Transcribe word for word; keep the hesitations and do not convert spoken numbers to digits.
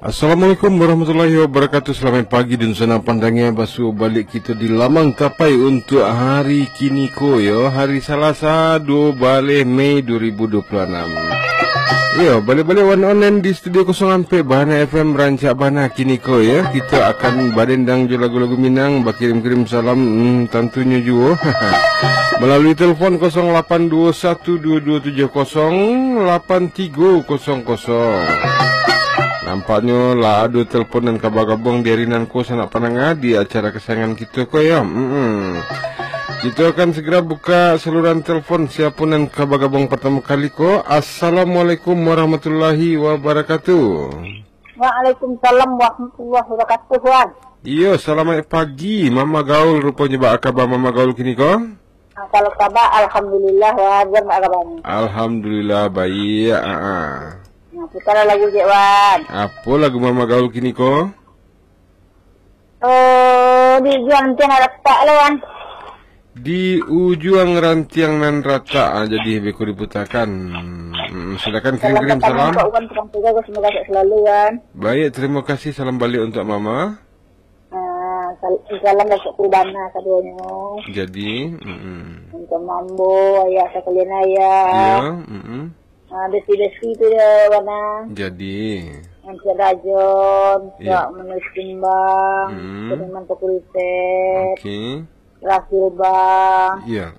Assalamualaikum warahmatullahi wabarakatuh. Salamaik pagi dan sanang pandangnya. Basuo baliak kito di lamang tapai untuak hari kiniko, yo. Hari Salasa, duo baleh Mei duo ribu duo puluah anam. Yo, baliak-baliak wan online di Studio kosong ampek Bahana F M, rancak bana kiniko, yo. Kito akan badendang jo lagu-lagu Minang, bakirim-kirim salam, hmm, tantunyo juo. Malalui telepon kosong lapan duo satu duo duo tujuh kosong lapan tigo kosong kosong. Nampaknyo lah ado telepon nan ka bagabuang di ari nan ko, sanak pandanga, di acara kesayangan kito ko, yo. Mm-mm. Kito akan segera buka saluran telepon, siapo nan ka bagabuang partamo kali ko. Assalamualaikum warahmatullahi wabarakatuh. Waalaikumsalam warahmatullahi wabarakatuh, Wan. Iyo, salamaik pagi, Mama Gaul. Ruponyo, baa kaba Mama Gaul kiniko? Ah, kalau kaba, alhamdulillah, Wan. Wan, baa kaba ni? Alhamdulillah, baiak, ah, ah. Nah, putarlah lagu ciek, Wan. Apo lagu Mama Gaul kiniko? Oh, di ujuang rantiang nan ratak lah, Wan. Di ujuang rantiang nan ratak, ah, jadi beko diputakan. Mm, silakan kirim-kirim salam. Salam pertama untuk Wan, tukang tugas, semoga sehat selalu, Wan. Baik, terima kasih. Salam baliak untuk Mama. Ah, sal-, salam dari Cik Perdana kaduonyo. Jadi, mm-mm. Untuk Mambo, ayah sakalian ayah. Ya, mm-mm. Ah, besi-besi tu yo, Wan. Jadi. Encik Rajon, ya. Kak Menulis Kumbang, hmm. Seniman Toko Riset, oke. Rasul Bang. Ya.